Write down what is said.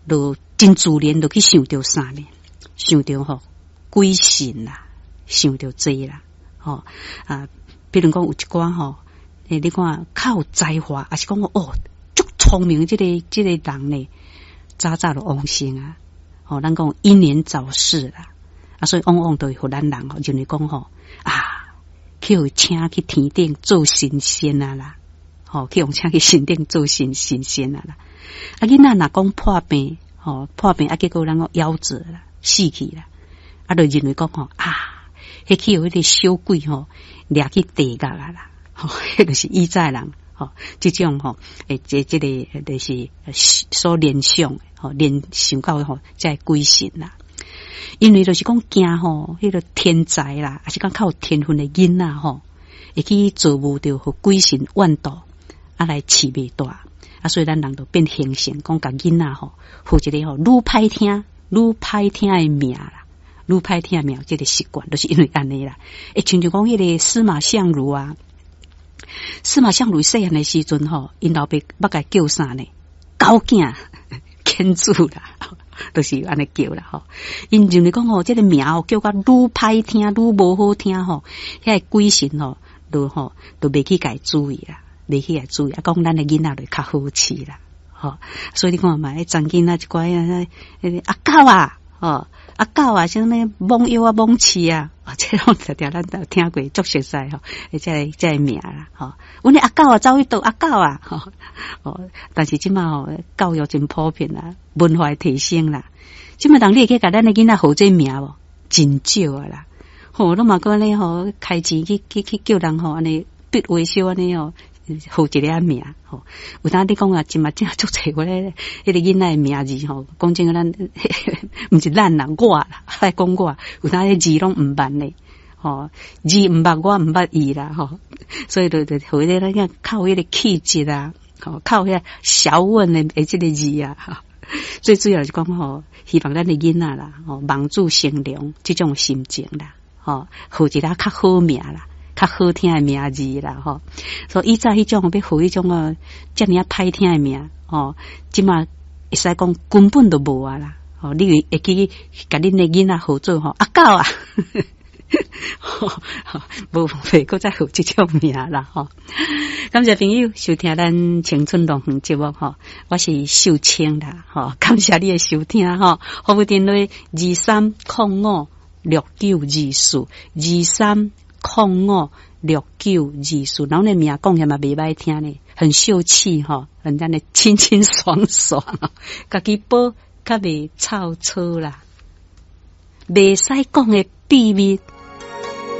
就真自然就去想著啥呢？想著吼鬼神啦，想著這啦，吼啊，比如講有一寡吼，你看較有才華，抑是講哦，足聰明這個人呢，早早就往生啊，吼，咱講英年早逝啦，啊，所以往往都會予咱人吼認為講吼啊，去予請去天頂做神仙啊啦，吼，去予請去神頂做神仙啊啦。啊，囡仔若講破病，吼破病啊，結果咱講夭折啦，死去啦，啊，就認為講吼啊，彼去予彼個小鬼吼掠去地獄啊啦，吼，彼就是以早人吼，這種吼，這個就是所聯想，吼聯想到吼，這个鬼神啦。因為就是講驚吼，彼個天才啦，抑是講較有天分的囡仔吼，會去造夢著予鬼神怨妒，啊來飼袂大，啊所以咱人就變形成講共囡仔吼，號一个吼愈歹聽、愈歹聽的名啦，愈歹聽的名，這個習慣，就是因為按呢啦。親像講彼個司馬相如啊，司馬相如細漢的時陣吼，𪜶老爸欲共叫啥呢？狗囝，犬子啦。就是按呢叫啦吼，𪜶認為講吼，這個名哦叫甲愈歹聽，愈無好聽吼，彼个鬼神吼，就吼就袂去共伊注意啦，袂去共伊注意，啊，講咱的囡仔就較好飼啦，吼，所以你看嘛，彼查囡仔一寡啊，彼个阿狗啊，吼，阿狗啊，啥物罔腰啊，罔飼啊，這攏定定咱都聽過，足熟似吼，這個名啦，吼，阮的阿狗啊，走去佗阿狗啊，吼，哦，但是這馬吼教育真普遍啦，文化提升啦，這馬人你會去共咱的囡仔號這名無？真少啊啦，吼，攏嘛閣按呢吼，開錢去叫人吼，按呢筆畫小按呢吼，號一个名吼。有當你講啊，這馬真足濟我咧，彼個囡仔的名字吼，講真個咱毋是咱啦，我啦，愛講我，有當彼字攏毋捌呢，吼，字毋捌，我毋捌伊啦，吼，所以就予彼個咱靠彼個氣質啊，吼，靠彼個學問的這個字啊，吼，最主要是講吼，希望咱的囡仔啦，吼，望子成龍這種心情啦，吼，號一个較好名啦，較好聽的名字啦，吼，所以以早彼種欲號彼種哦，遮爾仔歹聽的名，吼，這馬會使講根本就無啊啦，吼，你會記共恁的囡仔號做吼阿狗啊，無袂閣再號這種名啦，吼。感謝朋友收聽咱青春樂園節目，吼，我是秀清啦，吼，感謝你的收聽，吼，服務電話23056924，23056924，人的名講起來嘛袂歹聽呢，很秀氣吼，很按呢清清爽爽，家己報較袂臭草啦，袂使講的秘密。